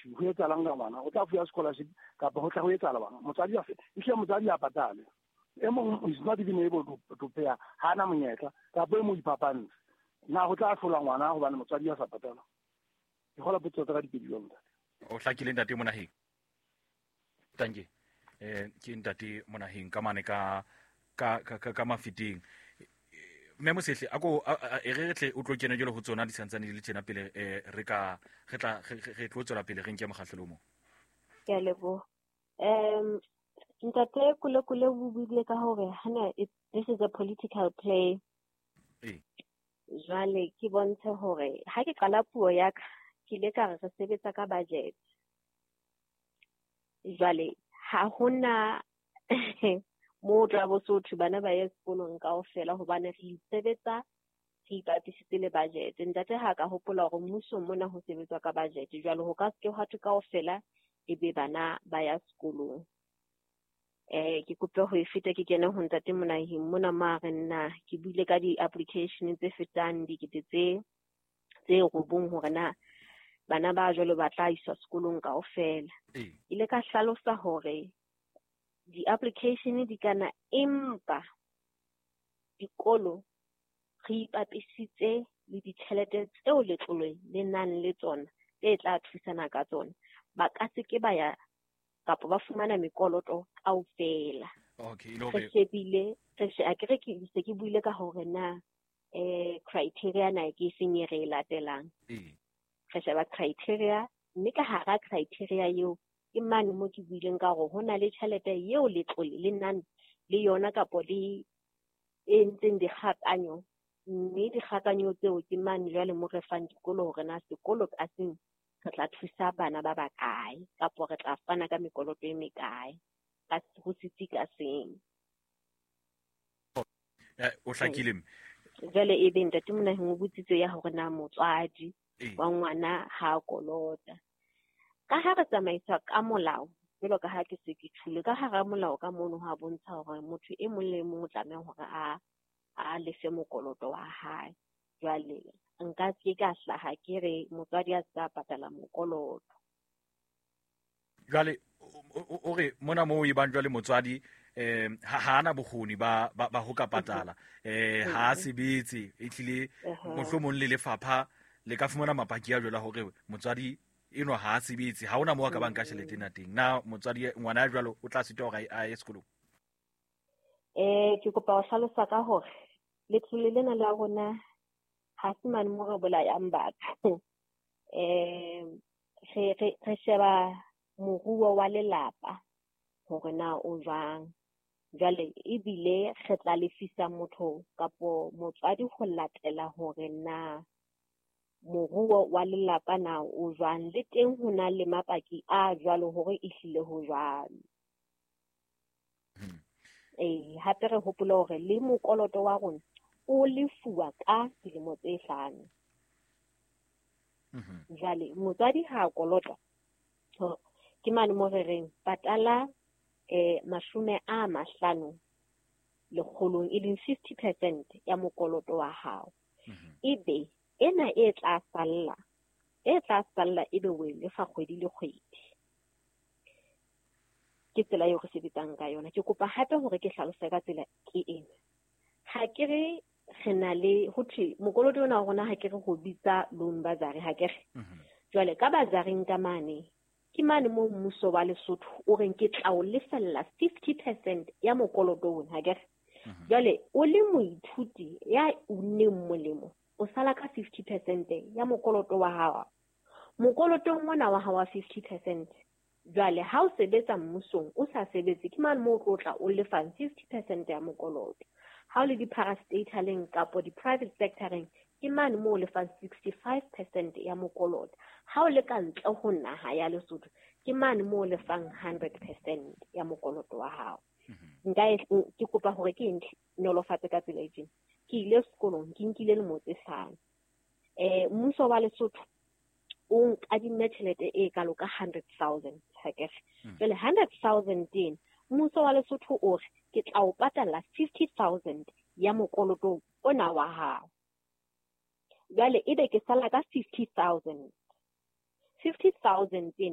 scholarship, ho etsahalang ka ngwana? O tla fuwa scholarship kapa ho tla ho etsahala bang? Motswadi a ehlile motswadi a patale. E mong is not even able to pay, ha na monyetla kapa e mong iphapantse. Na ho tla hlola ngwana hobane motswadi a sa patala? Ke kgola potso tsa ka dipedi jwalo, ntate. O hlakile, ntate Monaheng. Tanke. Ke ntate Monaheng ka mane ka Mafeteng. Mme Mosehle, ako e re tle o tlo kena jwale ho tsona di santsane di le tjena pele, re ka re tla re tlo tswela pele re nke mokgahlelo o mong. Ke a leboha. Ntate Kule o buile ka hore hana this is a political play. Jwale ke bontshe hore ha ke qala puo ya ka, ke ile ka re re sebetsa ka budget. Jwale ha hona mo tla bo so thwe bana ba ye sekolong kaofela, hobane re sebetsa re ipapisitse le budget. Ntate ha ka hopola hore mmusong mona ho sebetswa ka budget, jwale ho ka se ke hwa thwe kaofela e be bana ba ya sekolong. Ke kope ho e feta ke kene ho ntate Monaheng mona mo a re nna ke buile ka di-application tse fetang dikete tse 9 hore na bana ba jwalo ba tla iswa sekolong kaofela. Ile ka hlalosa hore di-application di kana, empa dikolo re ipapisitse le ditjhelete tseo letlole le nang le tsona tse tla thusana ka tsona. Ba ka se ke ba ya kapa ba fumana mekoloto kaofela. Okay. Re shebile, akere ke se ke buile ka hore na criteria na ke efeng e re e latelang. Re sheba criteria, mme ka hara criteria eo ke mane mo ke buileng ka hore ho na le tjhelete eo letlole le nang le yona kapo le e entseng dikgakanyo, mme dikgakanyo tseo ke mane jwale mo re fang dikolo hore na sekolo ka seng re tla thusa bana ba bakae kapo re tla fana ka mekoloto e mekae ka ho setsi ka seng. O hlakile. Jwale e be ntate Monaheng o botsitse ya hore na motswadi wa ngwana ha kolota. Ka ha re tsamaiswa ka molao, jwalo ka ha ke se ke tjhule, ka hara molao ka mono ho a bontsha hore motho e mong le e mong o tlameha hore a lefe mokoloto wa hae. Jwale nka ke ka hlaha ke re motswadi a se patala mokoloto. Jwale o re mona moo e bang jwale motswadi ha ana bokgoni ba ho ka patala, ha a sebetse, ehlile mohlomong le lefapha le ka fumana mapaki a jwalo hore motswadi eno ha a sebetse, ha hona moo a ka bang ka tjhelete ena teng. Na motswadi ngwana ya jwalo o tla sitwa hore a ye sekolong? Ke kopa ho hlalosa ka hore letlole lena la rona ha se mane mo re bolayang batho. Re sheba moruo wa lelapa hore na o jwang. Jwale ebile re tla lefisa motho kapo motswadi ho latela hore na moruo wa lelapa na o jwang, le teng ho na le mapaki a jwalo hore ehlile ho jwalo. Hape re hopole hore le mokoloto wa rona o lefuwa ka dilemo tse 5. Jwale motswadi ha kolota, ke mane mo re reng patala 50 lekgolong, e leng 50% ya mokoloto wa hao. Ebe ena e tla salla ebe o e lefa kgwedi le kgwedi. Ke tsela eo re sebetsang ka yona. Ke kopa hape hore ke hlalose ka tsela ke ena. Ha ke re re na le ho thwe mokoloto ona wa rona, ha ke re ho bitsa loan bazari, ha ke re. Jwale ka bazaring ka mane, ke mane moo mmuso wa Lesotho o reng ke tla o lefella 50% ya mokoloto ona, ha ke re. Jwale o le moithuti ya unneng molemo, o sala ka 50% ya mokoloto wa hao. Mokolotong ona wa hao wa 50%, jwale ha o sebetsa mmusong o sa sebetse, ke mane moo o tlo tla o lefang 50% ya mokoloto. Ha o le di-parastataleng kapo di-private sectoreng, ke mane moo o lefang 65% ya mokoloto. Ha o le ka ntle ho naha ya Lesotho, ke mane moo o lefang 100% ya mokoloto wa hao. Nka ke kopa hore ke nolofatse ka tsela e tjena. Ke ile sekolong, ke nkile lemo tse 5. Mmuso wa Lesotho o nkadimme tjhelete e kalo ka 100,000, ha ke re. Jwale 100,000 teng, mmuso wa Lesotho o re ke tla o patala 50,000 ya mokoloto ona wa hao. Jwale ebe ke sala ka 50,000. 50,000 teng